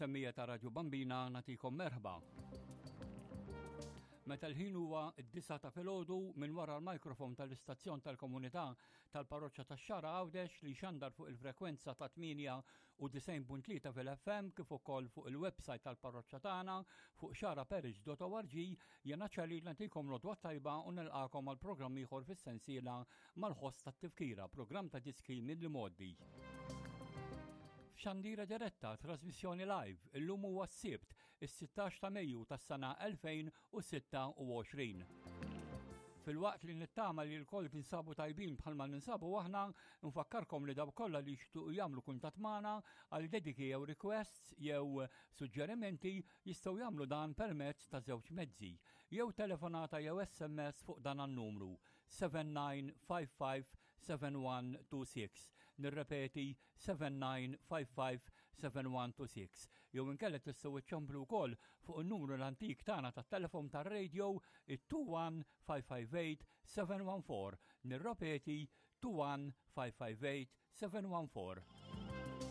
semmija ta' Radju Bambina natikom merħba. Meta l-ħin huwa d-disa ta' filgħodu minn wara l-mikrofon tal-istazzjon tal-komunità tal-parroċċa tax-Xara Għawdex li xandar fuq il-frekwenza ta' 98.3 fil-FM kif ukoll fuq il-website tal-parroċċa tagħna fuq xaraparish.org jena ċali nagħtikom l-odwa tajba u nilqakom għal programm ieħor fis-sensiela mal-ħoss tat-tifkira, programm ta' diski mill-modi. F'xandira diretta, trasmissjoni live, illum huwa s-Sibt, is-16 ta' Mejju tas-sena 2026. Filwaqt li nittama li l-koll tinsabu tajbin bħalma ninsabu aħna, nfakkarkom li dawk kollha li jixtuqu jagħmlu kuntatt magħna għal dediki jew requests jew suġġerimenti jistgħu jagħmlu dan permezz ta' żewġ mezzi, jew telefonata jew SMS fuq dan an-numru 79557126. Nirrepeti 79557126. Jew inkella tistgħu iċċemplu wkoll fuq in-numru l-antik tagħna tat-telefon tar-radio it-21 558 714. Nirrepeti 21 558 714.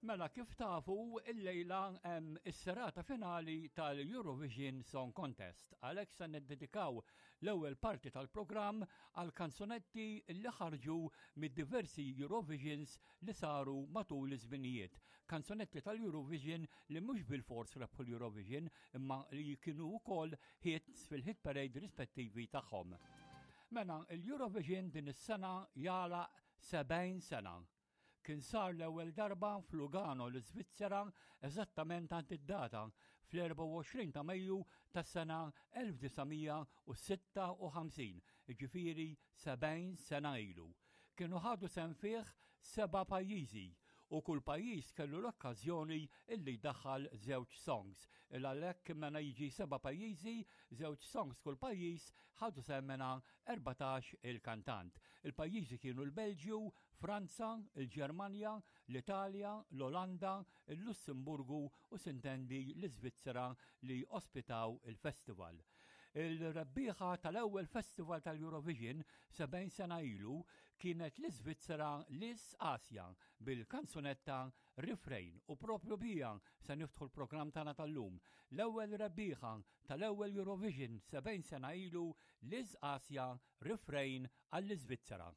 Mela kif tafu illejla hemm is-serata finali tal-Eurovision Song Contest. Għalhekk se niddedikaw l-ewwel parti tal-programm għal kanzunetti li ħarġu mid-diversi Eurovisions li saru matul iż-żminijiet. Kanzunetti tal-Eurovision li mhux bilfors rebħu l-Eurovision imma li kienu wkoll hits fil-hit parade rispettivi tagħhom. Mela, l-Eurovision din is-sena jagħlaq 70 sena. Kien sar l-ewwel darba f'Lugano l-Iżvizzera eżattament għand id-data fl-24 ta' Mejju tas-sena 1956, jiġifieri 70 sena ilu. Kienu ħadu sehem fih seba' pajjiżi u kull pajjiż kellu l-okkażjoni illi jdaħħal żewġ songs. Il għalhekk mena jiġi seba' pajjiżi, żewġ songs kull pajjiż, ħadu sehem mena 14 il-kantant. Il-pajjiżi kienu l-Belġju, Franza, il-Ġermanja, l-Italja, l-Olanda, il-Lussemburgu u sintendi l-Iżvizzera li ospitaw il-festival. Il-rebbieħa tal-ewwel festival tal-Eurovision 70 sena ilu kienet l-Iżvizzera Liz Asja bil-kanzunetta Refrain u propju bija se niftħu l-programm tagħna tal-lum. L-ewwel rebbieħa tal-ewwel Eurovision 70 sena ilu Liz Asja Refrain għall-Iżvizzera.